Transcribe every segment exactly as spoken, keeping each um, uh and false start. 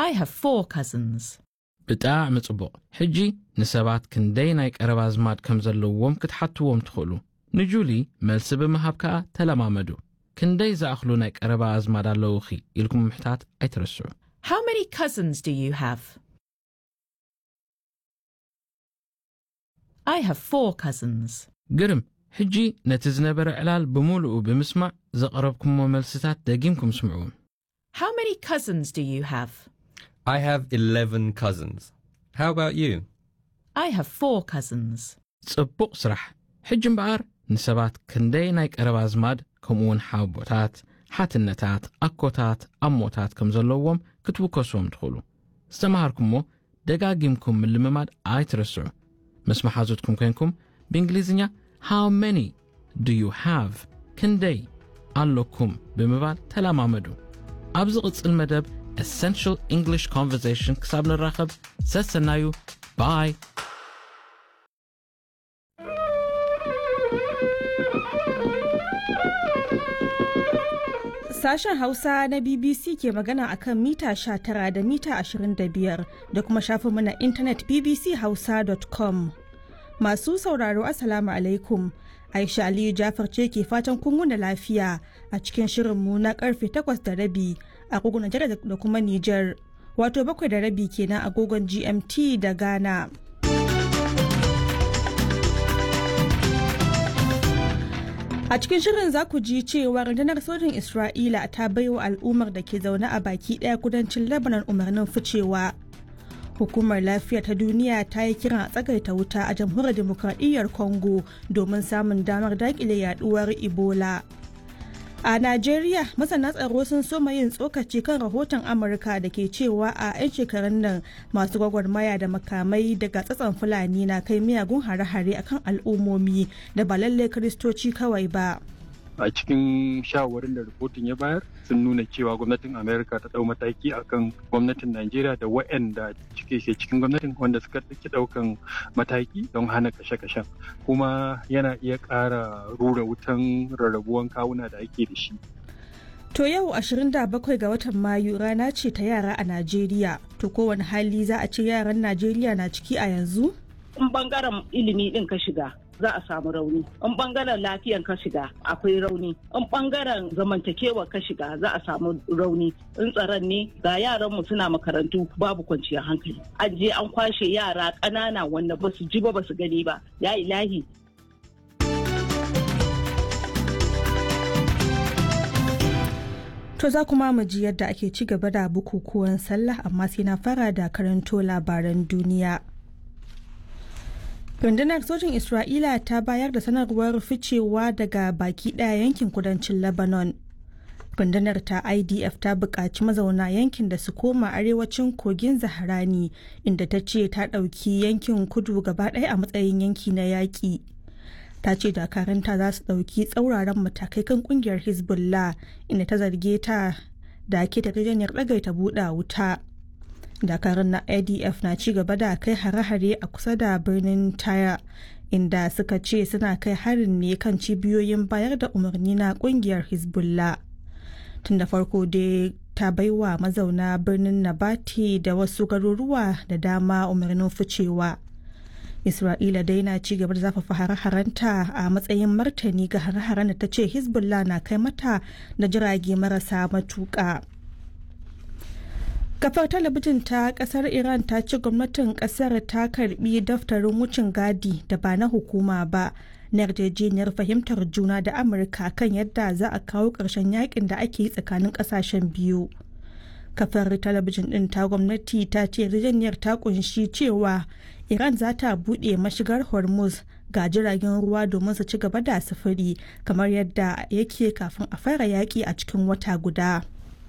I have four cousins. ብጣዕሚ ጽቡቕ። ሕጂ ንሰባት ክንደይ ናይ ቀረባ ኣዝማድ ከም ዘለዎም ክትሓትዎም ትኽእሉ። ንጁሊ መልሲ ብምሃብ ከዓ ተለማመዱ። ክንደይ ዝኣኽሉ ናይ ቀረባ ኣዝማድ ኣለውኺ ኢልኩም ምሕታት ኣይትረስዑ። How many cousins do you have? I have four cousins. ግርም። ሕጂ ነቲ ዝነበረ ዕላል ብምሉኡ ብምስማዕ ዘቕረብኩሞ መልስታት ደጊምኩም ስምዑ። How many cousins do you have? I have eleven cousins. How about you? I have four cousins. ጽቡቕ ስራሕ። ሕጂ እምበኣር ንሰባት ክንደይ ናይ ቀረባ ኣዝማድ ከምኡውን ሓቦታት፣ ሓትነታት፣ ኣኮታት፣ ኣሞታት ከም ዘለዎም ክትውከስዎም ትኽእሉ። ዝተምሃርኩሞ ደጋጊምኩም ምልምማድ ኣይትረስዑ። ምስ መሓዙትኩም ኮንኩም ብእንግሊዝኛ "How many do you have?" ክንደይ ኣለኩም ብምባል ተለማመዱ። ኣብ ዝቕጽል መደብ Essential English Conversation ክሳብ ንራኸብ ሰሰናዩ። Bye. Sashen Hausa na B B C ke magana akan mita sha tara da mita ashirin da biyar da kuma shafinmu na intanet b b c hausa dot com. Masu sauraro, Assalamu alaikum. Aisha Aliyu Jafar ce ke fatan kun wuni lafiya a cikin shirinmu na karfe takwas da rabi a agogon Najeriya da kuma Nijar. Wato bakwai da rabi kenan agogon G M T da Ghana. A cikin shirin za ku ji cewa rundunar sojin Isra'ila ta baiwa al'ummar da ke zaune a baki ɗaya kudancin Lebanon umarnin ficewa. Hukumar Lafiya ta Duniya ta yi kiran a tsagaita wuta a Jamhuriyar Demokradiyyar Congo domin samun damar dakile yaduwar Ebola. A Najeriya, masana tsaro sun soma yin tsokaci kan rahoton Amurka da ke cewa a 'yan shekarun nan masu gwagwarmaya da makamai daga tsatson Fulani na kai miyagun hare-hare akan al'ummomi da ba lallai Kiristoci kawai ba. A cikin shawarwarin da rahoton ya bayar, sun nuna cewa gwamnatin America ta dau mataki akan gwamnatin Najeriya da waɗanda cike ke cikin gwamnatin wanda suka ɗauki ɗaukan mataki don hana kashe-kashen, kuma yana iya ƙara rura wutan rarrabuwan kawuna da ake da shi. To yau ashirin da bakwai ga watan Mayu rana ce ta yara a Najeriya. To kowane hali za a ce yaran Najeriya na ciki a yanzu? In bangaren ilimi din ka shiga, za a samu rauni. In bangaren lafiyan ka shiga, akwai rauni. In bangaren zamantakewa ka shiga, za a samu rauni. In tsaron ne, ga yaran mu suna makarantu babu kwanciyar hankali. An je an kwashe yara ƙanana wanda ba su ji ba, ba su gani ba. Ya ilahi. To za kuma mu ji yadda ake ci gaba da bukukuwan sallah, amma sai na fara da karanto labaran duniya. Rundunar sojin Isra'ila ta bayar da sanarwar ficewa daga baki ɗaya yankin kudancin Lebanon. Rundunar ta I D F ta buƙaci mazauna yankin da su koma arewacin kogin Zaharani, inda ta ce ta ɗauki yankin kudu gaba ɗaya a matsayin yanki na yaƙi. Ta ce dakaranta za su ɗauki tsauraran matakai kan ƙungiyar Hezbollah, inda ta zarge ta da ke yarjejeniyar ɗagaita buɗa wuta. Dakarun na I D F na ci gaba da kai hare-hare a kusa da birnin Taya, inda suka ce suna kai harin ne kan cibiyoyin bayar da umarni na kungiyar Hezbollah. Tun da farko dai ta baiwa mazauna birnin Nabati da wasu garuruwa da dama umarnin ficewa. Isra'ila dai na ci gaba da zafafa hare-harenta a matsayin martani ga hare-haren da ta ce Hezbollah na kai mata da jirage marasa matuƙa. Kafar talabijin ta kasar Iran ta ce gwamnatin kasar ta karbi daftarin wucin gadi da ba na hukuma ba na yarjejeniyar fahimtar juna da Amurka kan yadda za a kawo ƙarshen yakin da ake yi tsakanin ƙasashen biyu. Kafar talabijin din ta gwamnati ta ce yarjejeniyar ta kunshi cewa Iran za ta buɗe mashigar Hormuz ga jiragen ruwa domin su ci gaba da sufuri kamar yadda yake kafin a fara yaƙi a cikin wata guda.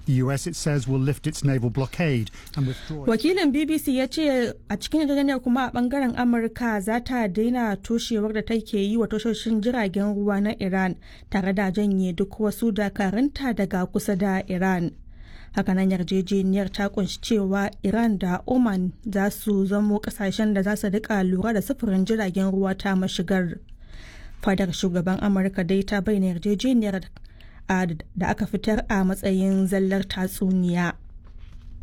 The U S, it says, will lift its naval blockade and withdraw. Wakilin B B C ya ce a cikin yarjejeniyar kuma a bangaren Amurka za ta daina toshewar da take yi wa tashoshin jiragen ruwa na Iran tare da janye duk wasu dakarunta daga kusa da Iran. Hakanan yarjejeniyar ta kunshi cewa Iran da Oman za su zamo kasashen da za su rika lura da sufurin jiragen ruwa ta mashigar. Fadar shugaban Amurka dai ta bayyana yarjejeniyar da aka fitar a matsayin zallar tatsuniya.